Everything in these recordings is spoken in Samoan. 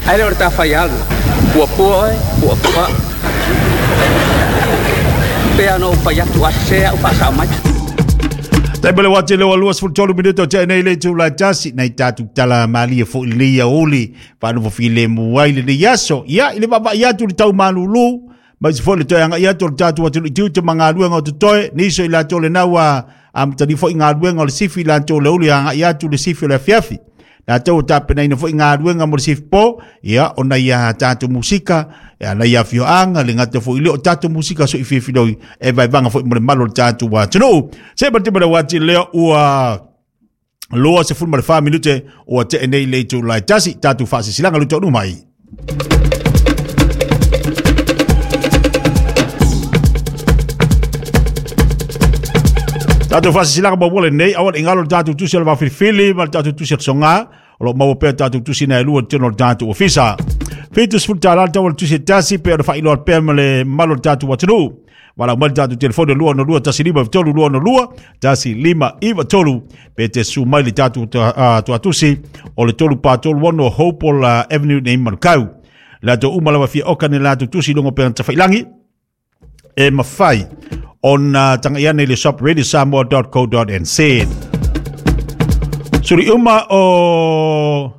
Ai le o le tafaialu, puapua oe, puapua. Pe ana ou fai atu a sese au faasao mai. Tai mele wati le walua sfultolu minuto te nei le tu la tasi nei tatu tala malia fo i lenei aoli whaanofo file muai le nei aso. Ia, i le vava i atu le tau malulu, mai se fo le toe anga i atu le tatu atu i tiu te mangaluenga o te toe, niso i lato le naua amtani fo i ngaluenga o le sifi lato le uli anga i atu le sifi o le afiafi. Lato o tapena ina fo i ngaluenga mo le sifi po, ia, ona ia tātou musika, ia na ia fioanga, le ngata fo i leo tātou musika so i fiafiloi, e vai vanga fo i mo le malo le tātou atunuu. Se ma te mara wati leo ua loa se fulu ma le 4 minute ua te nei le itu lai tasi, tātou whaasisilanga luto nu mai. Tātou whaasisilanga mo wale nei, awan ingalo le tātou tusi o le wawhilifili, ma le tātou tusi o le songa, o lo maua pea tātou tusi na e lua tino le tātou ofisa. Fitus fulta la tau le tusi tasi pe o le whailoa pea ma le malo le tātou atunuu. Wala mai le tātou telefone 2 no 2 tasi 5 3 2 no 2 tasi 5 9 3 pe te su mai le tātou tuatusi o le 3 pa 3 1 Hopewell Avenue nei Manukau. Lato uma lava fia oka ne lato tusi longo pe tawhailangi e mawhai ona tanga iane le shop radiosamoa.co.nz. Suri uma o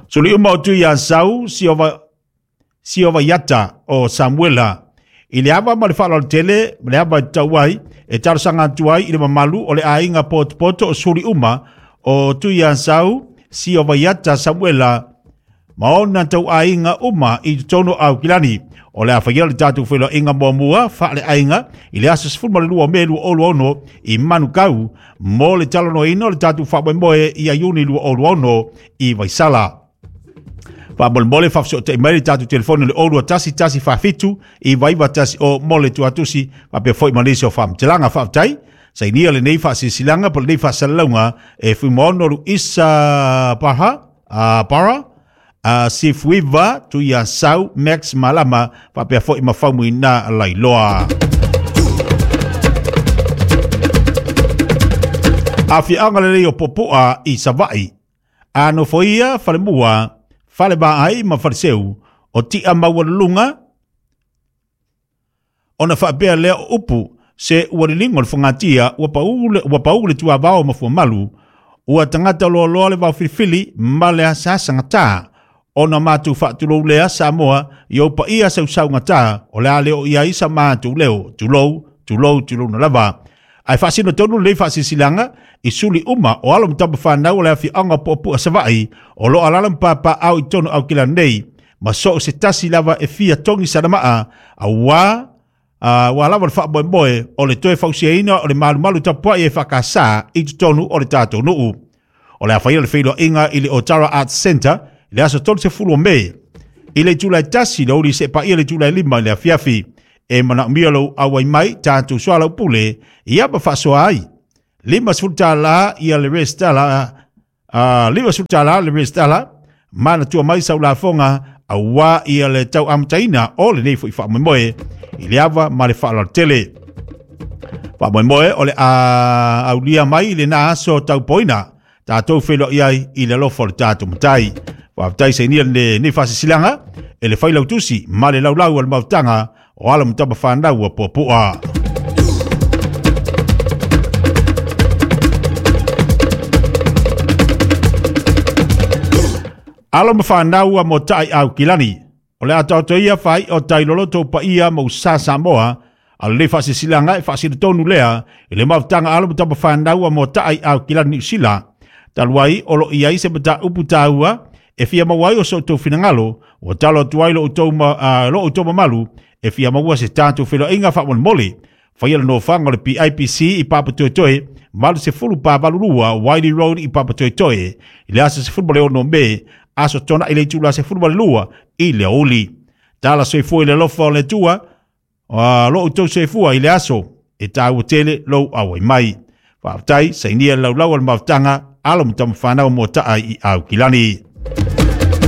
Suri uma o tui a sau siova iata o Samuela. I le ava ma le whaalo tele, le ava i tauai, e tarosanga atu ai i le mamalu o le ainga potopoto o suri uma o tui a sau siova iata Samuela. Ma ona tau ainga uma i tono au kilani. O le awhaia le tātou whelo inga mua mua, wha le ainga, i le asa sefulu ma le lua me lua olu ono i Manukau, mo le talono ino le tātou whamoemoe i a Iuni lua olu ono i Vaisala. Wha mole mole whawhiso te mai le tātou telefone le olua tasi tasi whawhitu i vaiva tasi o mole tuatusi whapea foi manisi o whamtelanga whawtai. Sainia le nei whaasisilanga po le nei whaasalalaunga e fuimono lu isa para sifuiva tu ia sau Max Malama whapea foi mawhaumu i nā lailoa. Awhianga le lei o popoa i Savai. Ano foia whalemua, whale ai ma whareseu o tia maualulunga ona whaapea lea o upu se uarilingo le whangatia ua paule tua vao mafuamalu ua tangata loa loa le vao filifili ma le asasa ngata ona mātou whaatulou lea Samoa i o paia sausau ngata o lea leo ia isa mātou leo tulou tulou tulou na lava. Ai whaasino tonu lei whaasisilanga i suli uma o alo mtapa whanau o lea whianga popu a Savai o lo alala mpapa au i tonu au kila nei ma so se tasi lava e fia tongi sanamaa a wā wa lava le whaamoemoe o le toe fausiaina o le malumalu tapuai e whakasa i tonu o le tātou nuu. O le awhaia le whailo inga i le Otara Arts Center le aso 30 o Mei. I le tūlai tasi le uri se paia le tūlai 5 i le afiafi. E mana umia lou auai mai tātou soa lau pule i apa whaasoa ai. 50 tāla ia le restala, 50 tāla le restala, mana tua mai sau lafonga a wā ia le tau amataina o le nei fo i whaamoemoe i le ava ma le whaalaltele. Whaamoemoe o le aulia mai i le nā aso tau poina tātou whelo iai i le lofo le tātou matai. Whaatai se nia le nei whaasisilanga e le whailau tusi ma le laulau al mautanga o ala mutapa whanau a puapua. Alo mawhanau a mo tai au kilani. O le atauto ia whai o tai loloto pa ia mo sa Samoa a le whaasisilanga e whaasila lea i le mautanga alo mutapa whanau a mo tai au kilani usila. Taluai o lo iai se mata upu tāua e fia mawai o so tau finangalo o talo atuai lo o tau mamalu e fia maua se tātou whelo inga whaamolmole. Whaia le nofanga o le PIPC i Papatoetoe, malu se fulu pa valurua Wiley Road i Papatoetoe. I le asa se fulu male ono me, aso tona i le tula se fulu male lua i le uli. Tala soifua i le lofa o le tua, lo o tau soifua i le aso, e tāua tele lou awai mai. Whaaftai, sainia laulau al mautanga, alo mutama whanau mō taa i au kilani.